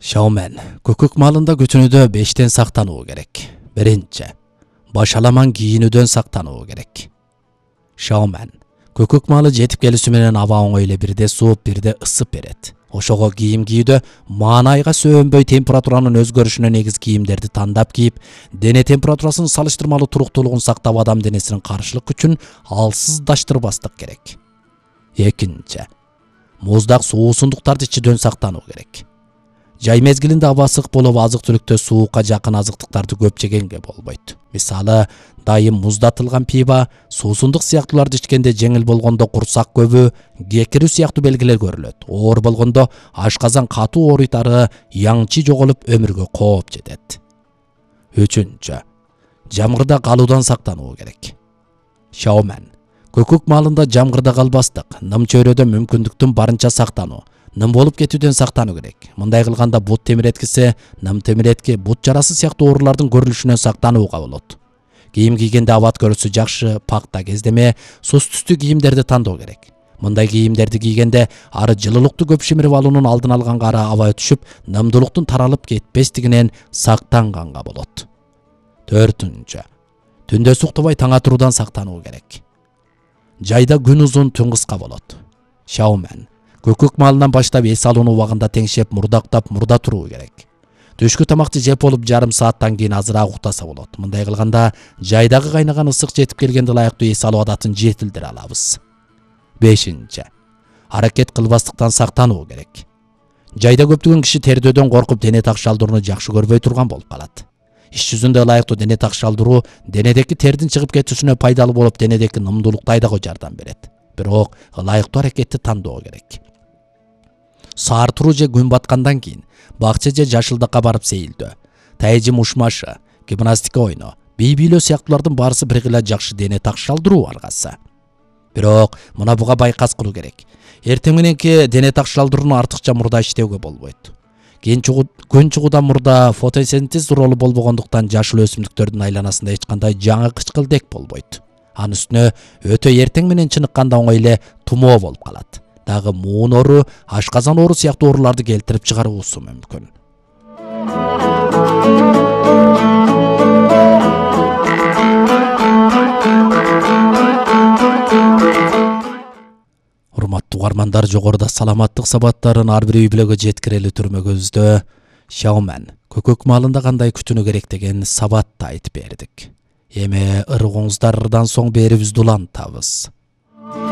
Шаумен көкөк малында күтүнүүдө 5тен сактануу керек. Биринчи, башаламан кийинүүдөн сактануу керек. Шаумен көкөк малы жетип келүүсү менен аба оңой эле бирде сууп, бирде ысып берет. Ошого кийим кийүүдө маанайга сөөнбөй температуранын өзгөрүшүнө негиз кийимдерди тандап кийип, дене температурасынын салыштырмалуу туруктуулугун сактап, адам денесинин каршылык күчүн алсыздаштырбастык керек. Экинчи, муздак суусундуктарды ичүүдөн сактануу керек. Жай мезгилинде аба ысык болуп, азык-түлүктө суукка жакын азыктыктарды көп жегенге болбойт. Мисалы, дайым муздатылган пиво, суусундук сыяктууларды ичкенде жеңил болгондо курсак көбү, кекирүү сыяктуу белгилер көрүлөт. Оор болгондо ашказан катуу ооруйт, ары яңчы жоголуп өмүргө кооп жетет. Үчүнчү, жамгырда калуудан сактануу керек. Шаумен көкөк малында жамгырда калбастык, ным чөйрөдө мүмкүндүктүн барынча сактануу, ным болуп кетүүдөн сактануу керек. Мындай кылганда бут темиреткиси, ным темиретки, бут жарасы сыяктуу оорулардын көрүлүшүнөн сактанууга болот. Кийим кийгенде абат көрүүсү жакшы, пакта кездеме, сус түстүү кийимдерди тандоо керек. Мындай кийимдерди кийгенде ары жылуулукту көп шимирип алуунун алдын алганга, ары аба өтүшүп, нымдуулуктун таралып кетпестигинен сактанганга болот. Төртүнчү, түндө суктабай таң атуудан сактануу керек. Жайда күн узун, түн кыска болот. Шаумен көкөк малынан баштап эс алуунун убагында теңшеп, мурдактап, мурда туруу керек. Түшкү тамакты жеп болуп жарым сааттан кийин азыраак уктаса болот. Мындай кылганда жайдагы кайнаган ысык жетип келгенде ылайыктуу эс алуу адатын жетилдире алабыз. Бешинчи, аракет кылбастыктан сактануу керек. Жайда көптөгөн киши тердөөдөн коркуп, дене так шалдырууну жакшы көрбөй турган болуп калат. Иш жүзүндө ылайыктуу дене так шалдыруу денедеки тердин чыгып кетүүсүнө пайдалуу болуп, денедеки нымдуулукту айдоого жардам берет. Бирок ылайыктуу аракетти тандоо керек. Саар туруу же күн баткандан кийин бакча же жашылдыкка барып сейилдөө, тайжы мушмашы, гимнастика ойноо, бий бийлөө сыяктуулардын баарысы бир гыла жакшы дене так шалдыруу аргасы. Бирок мына буга байкас кылуу керек. Эртең мененки дене так шалдырууну артыкча мурда иштөөгө болбойт. Күн чыгуудан мурда фотосинтез ролу болбогондуктан жашыл өсүмдүктөрдүн айланасында эч кандай жаңы кычкылдек болбойт. Анын үстүнө өтө эртең менен чыныкканда оңой эле тумоо болуп калат. Дагы муун оору, ашказан оору сыяктуу ооруларды келтирип чыгаруусу мүмкүн. Урматтуу угармандар, жогоруда саламаттык сабаттарын ар бир үй бүлөгө жеткирели түрмөгүбүздө Шаумен көкөк малында кандай күтүнүү керек деген сабатты айтып бердик. Эми ыргыңыздардан соң берибизди улантабыз.